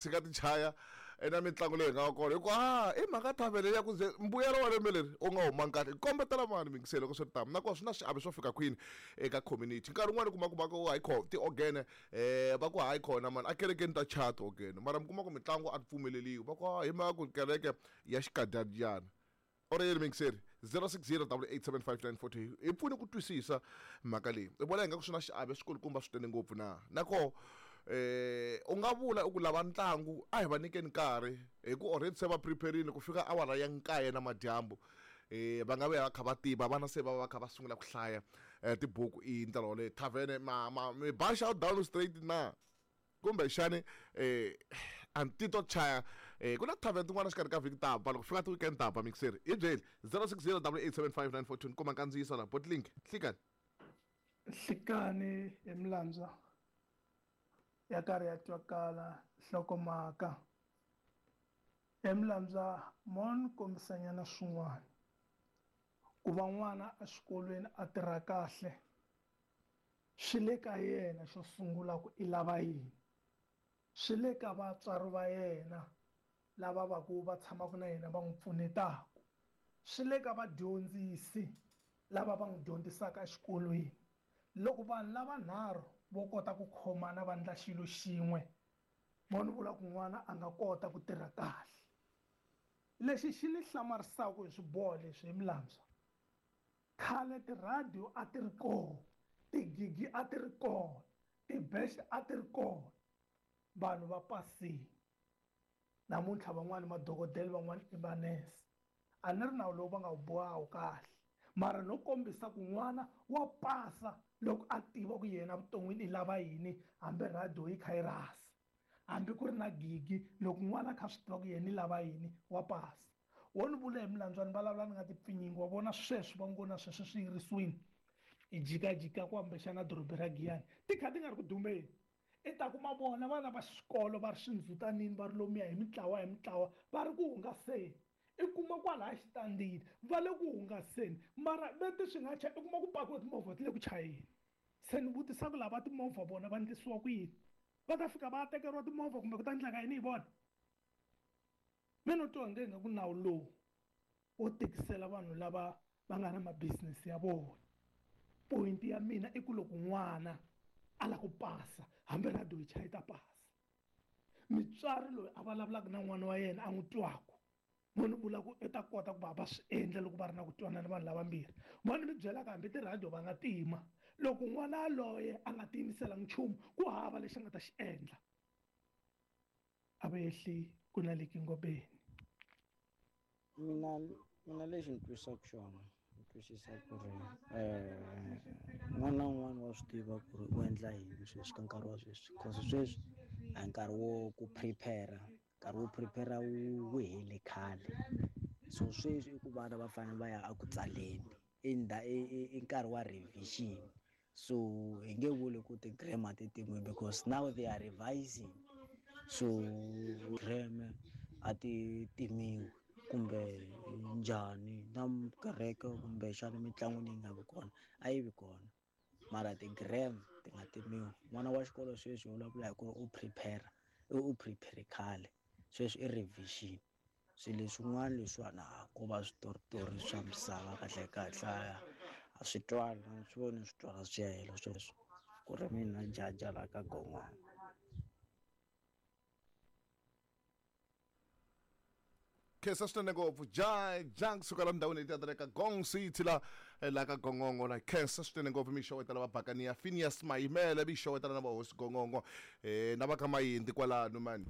Tshika ti chaya na mitlangu leyi nga kona hikuva a i mhaka thavele ya ku ze mbuyelo wa lembe leri u nga humangi kahle kombetela mani mingiselo loko swi ri tano nakona swi na xiave swo fika kwini eka community nkarhi wun'wani u kuma ku va ku hayi kho tiogene um va ku hayi khona mani a kerekeni ta chaya tiogene mara mi kuma ku mitlangu a ti pfumeleliwi va ku hi mhaka ku kereke ya xikadyana Or yini muyingiseri 0608875942 hi pfuni ku twisisa mhaka leyi i vona ingaku swi na xiave swikulukumba swinene ngopfu na nakoho eh u nga vula u ku lava ntlangu a hi va nyikeni nkarhi hi ku already se va preparile ku fika awara ya nkaye na madyambu eh va nga vuya va kha va tiva vana se va va kha va sungula ku hlaya eh, tibuku i ndlela yoleyo thavene ma ma mi ba down straight na Kumbexani a ni titwa ku chaya ku na tavern tin'wana xikarhi ka vhiki ta ba loko fika ti-weekend ta ba mixeri hi byeli 060 875 ni kuma nkandziyiso la botlink nhlikani. Nhlikani hi milandza ya karhi ya twakala nhlokomhaka he milandza mo ni kombisanyana swin'wana ku va n'wana exikolweni a tirha kahle Swi le ka yena xo sungula ku i lava yini. Swi le ka vatswari va yena lava va ku va tshamaka na yena va n'wi pfunetaka. Swi le ka vadyondzisi lava va n'wi dyondzisaka exikolweni. Loko vanhu lavanharhu vo kota ku khomana va ndla xilo xin'we, vo ni vula ku n'wana a nga kota ku tirha kahle. Lexi xi ni hlamarisaka hi swiboho leswi hi Mlamswa, Khale tirhadiyo a ti ri kona, tigigi a ti ri kona, tibexe a ti ri kona, vanhu va pasile. Namuntlha van'wana i madokodela van'wana i manese. A ni ri nawu lowu va nga wu boha a wu kahle, mara no kombisa ku n'wana wa pasa loko a tiva ku yena evuton'wini i lava yini hambi rhadiyo yi kha yi rhasa, hambi ku ri na gigi loko n'wana a kha a swi tiva ku yena i lava yini wa pasa. Wo ni vula hi milandzu a ni vulavula ni nga ti pfinyingi wa vona sweswi va ngo na sweswi swi yirisiwini i jikajika kumbexana doroba ra Giyani ti kha ti nga ri ku dumeni i ta kuma vona vana va xikolo va ri swindzhutanini va ri lomuya hi mitlawa hi mitlawa va ri ku hungaseni i kuma kwalaya xitandini va le ku hungaseni mara vete swi nga cha i kuma ku pakiwe timovha ti le ku chayeni se ni vutisa ku lava timovha vona va ndlisiwa ku yini va ta fika va tekeriwa timovha kumbe ku ta endleka yini hi vona Me no twa onge ingaku nawu lowu wo tikisela vanhu lava va nga na ma-business ya vona. Point ya mina i ku loko n'wana a lava ku pasa hambi radio yi chaya yi ta pasa. Mutswari loyi a vulavulaka na n'wana wa yena a n'wi twaku mo ni vula ku i ta kota ku va va swi endla loko va ri na ku twanana vanhu lavambirhi. Mo ni mi byelaka hambi ti-radio va nga tima loko n'wana yaloye a nga tiyimiselanga nchumu ku hava lexi a nga ta xi endla. A va ehli ku na le Kingobeni. Mina mina lexi ni twisaka xona ni twisisa ku ri un'wana na un'wana wa swi tiva ku ri u endla yini sweswi ka nkarhi wa sweswi cause sweswi a hi nkarhi wo ku prepare nkarhi wo prepare wu hele khale so sweswi i ku vana va fanele va ya eku tsaleni i i nkarhi wa revision. So hi nge vuli ku ti-grammar ti timiwe because now they are revising so grammar a ti timiwi kumbe njhani na kereke kumbexana mitlangu leyi nga vi kona a yi vi kona mara ti-gram ti nga timiwi n'wana wa xikolo sweswi hi vulavula hi ku ri u prepare u prepare khale sweswi i revision. Swilo leswin'wana leswiwani a ko va switoritori swa misava kahle kahle a swi twali a swi voni swi twala swi ya hela sweswo ku ri mina jaja la ka gon'wana. Khensa swinene ngopfu ja ja kusuka la ndhawini leti ya ka gong city la la ka gongongo la khensa swinene ngopfu mi xewetela va bakaniya Phineas Mayimele mi xewetela na vahosi gongongo na va ka mayindi kwalano mani.